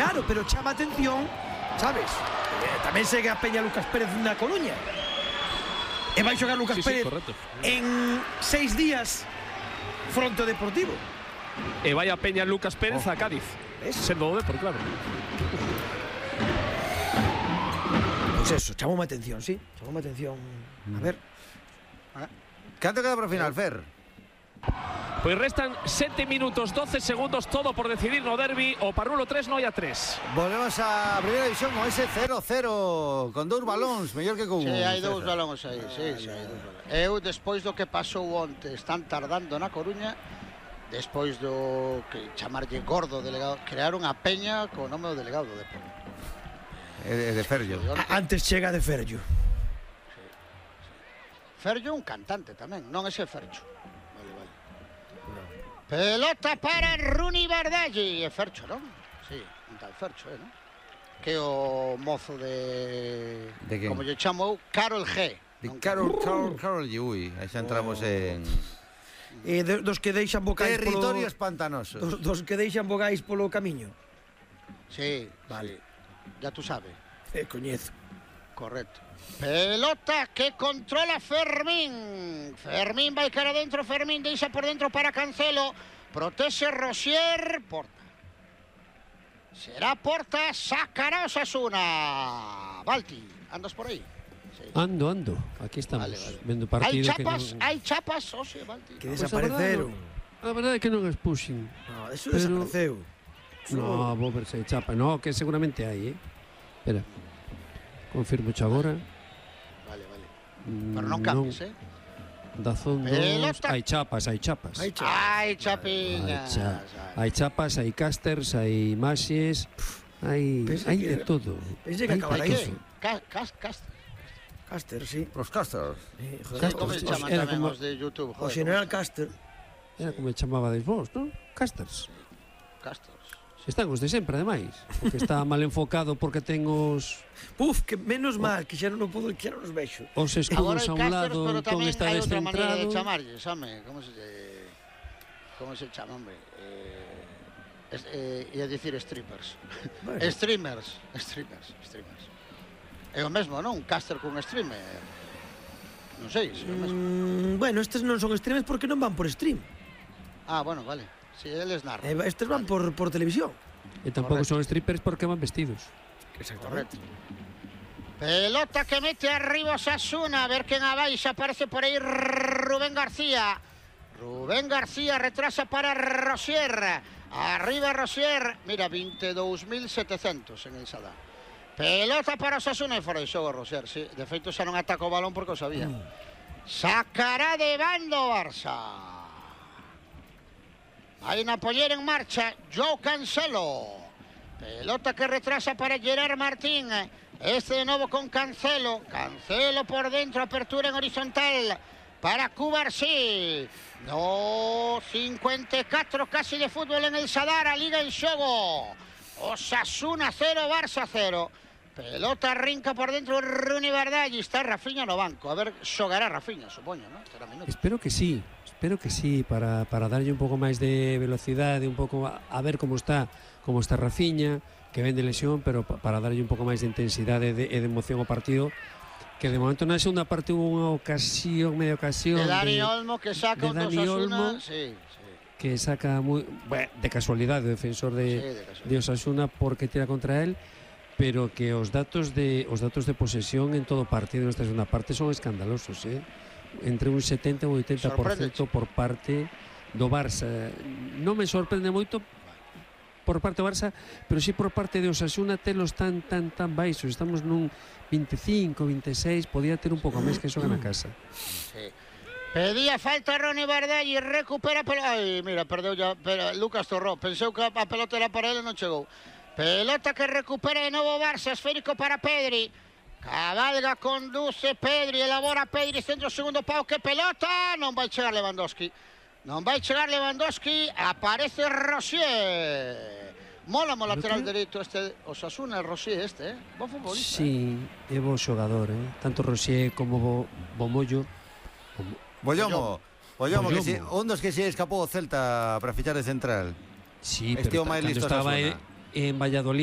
Claro, pero chama atención, sabes? Tamén segue a Peña Lucas Pérez na Coruña. E vai xogar Lucas Pérez en 6 días fronte ao Deportivo. E vai a Peña Lucas Pérez a Cádiz. Sendo o Depor, claro. Pois eso, chamoume atención, sí. Chamoume atención. A ver. Canto queda para o final, Fer? Pois restan 7 minutos 12 segundos, todo por decidir no derbi. O Parrulo 3, Noia 3. Volvemos a primeira división con ese 0-0 con 2 balóns, mellor que con un. Sí, hai 2 balóns aí, sí, hai 2 balóns. Eu, despois do que pasou onte, están tardando na Coruña, despois do que chamarlle gordo delegado, crearon a peña co nome do delegado do Depor. De Ferllo. Antes chega de Ferllo. Ferllo un cantante tamén, non ese Fercho. Pelota para Runi Bardaggi. É Fercho, non? Sí, un tal Fercho, non? Que o mozo de como lle chamou, Carol G. De Carol G, ui, aí xa entramos en... Dos que deixan vocais territorios pantanosos. Dos que deixan vocais polo camiño. Sí, vale. Ya tú sabes. Coñezo. Correcto. Pelota que controla Fermín. Fermín vai cara dentro, Fermín deixa por dentro para Cancelo. Protege Rosier. Porta. Será Porta, sacará Osasuna. Balti, andas por aí? Sí. Ando. Aquí estamos, vendo partido. Hai chapas, oxe, Balti. Que desapareceron. A verdade é que non expuxen. No, eso desapareceu. No, vou ver se hai chapa. No, que seguramente hai, Espera. Confirmo xa agora. Vale. Pero non cambies, Dazón 2. Hai chapas. Hai chapiñas. Hai chapas, hai casters, hai imaxes. Hai de todo. Pensei que acabara iso. Caster, sí. Os casters. Como se chaman tamén os de YouTube? O General Caster. Era como chamabades vos, non? Casters. Están os de sempre, ademais. Porque está mal enfocado porque ten os... Que menos mal, que xa non podo, que xa non os vexo. Os escudos a un lado, entón está descentrado. Agora hai outra maneira de chamarlle, xame, como se chama, hombre? Ia dicir strippers. Streamers. É o mesmo, non? Un caster con streamer. Non sei, se é o mesmo. Bueno, estes non son streamers porque non van por stream. Ah, bueno, vale. Si, eles narran. Estes van por televisión. E tampouco son strippers porque van vestidos. Exactamente. Pelota que mete arriba Osasuna. A ver quen abaixa. Aparece por aí Rubén García. Rubén García retrasa para Rosier. Arriba Rosier. Mira, 22.700 en el Sadar. Pelota para Osasuna e fora de xogo Rosier. Sí, de feito xa non ataca o balón porque o sabía. Sacará de bando Barça. Hay una pollera en marcha, Joao Cancelo. Pelota que retrasa para Gerard Martín. Este de nuevo con Cancelo. Cancelo por dentro, apertura en horizontal para Cubarsí. No, 54 casi de fútbol en el Sadar, a Liga en xogo. Osasuna 0, Barça 0. Pelota rinca por dentro Runi Bardaggi. Está Rafinha no banco. A ver, xogará Rafinha, supoño, ¿no? Espero que sí, para darlle un pouco máis de velocidade, un pouco a ver como está Rafinha, que ven de lesión, pero para darlle un pouco máis de intensidade e de emoción ao partido, que de momento na segunda parte hubo media ocasión de Dani Olmo que saca un Osasuna, que saca de casualidade o defensor de Osasuna porque tira contra él, pero que os datos de posesión en todo partido nesta segunda parte son escandalosos, entre un 70 e un 80% por parte do Barça. Non me sorprende moito por parte do Barça, pero sí por parte de Osasuna telos tan baixos. Estamos nun 25, 26, podía ter un pouco máis que xoga na casa. Pedía falta Roni Bardaggi, recupera pelota. Ai, mira, perdeu ya, pero Lucas Torró, penseu que a pelota era para ele e non chegou. Pelota que recupera de novo Barça, esférico para Pedri. Cabalga, conduce Pedri, elabora Pedri, centro segundo pau, que pelota, non vai chegar Lewandowski. Aparece Rosier. Mola mo lateral dereito este Osasuna, Rosier bo futbolista. Sí, é bo xogador, tanto Rosier como Bomollo. Bollomo, que si, un dos que se escapou o Celta para fichar de central. Sí, pero cando estaba en Valladolid